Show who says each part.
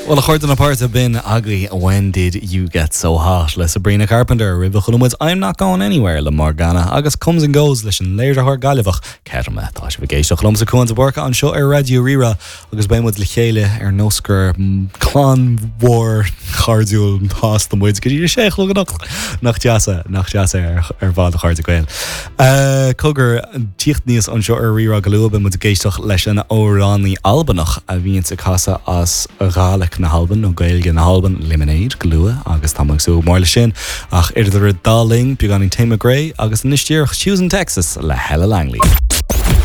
Speaker 1: Bhuel, a chairde na páirte, b'in agaibh When Did You Get So Hot le Sabrina Carpenter, roimhe chuala muid I'm Not Going Anywhere le Morgana agus Comes and Goes leis an léiritheoir Gaillimheach Kettama. Tá sibh ag éisteacht liomsa Cuan de Búrca anseo ar Raidió Rí-Rá agus beidh muid le chéile ar nós gur clann mhór chairdiúil shásta muid go dtí a sé a chlog anocht. Nach deas é, nach deas é ar fad a chairde Gael. Cogar, tíocht aníos anseo ar Rí-Rá go luath, beidh muid ag éisteacht leis an amhránaí Albanach a bhíonns ag casadh as Gàidhlig na hAlban, nó Gaeilge na hAlban, Lemonade, go luath agus tá mé ag súil go mór leis sin. Ach idir an dá linn, beagáinín Tate McRae agus anois díreach Tuesday in Texas le Hella Langley.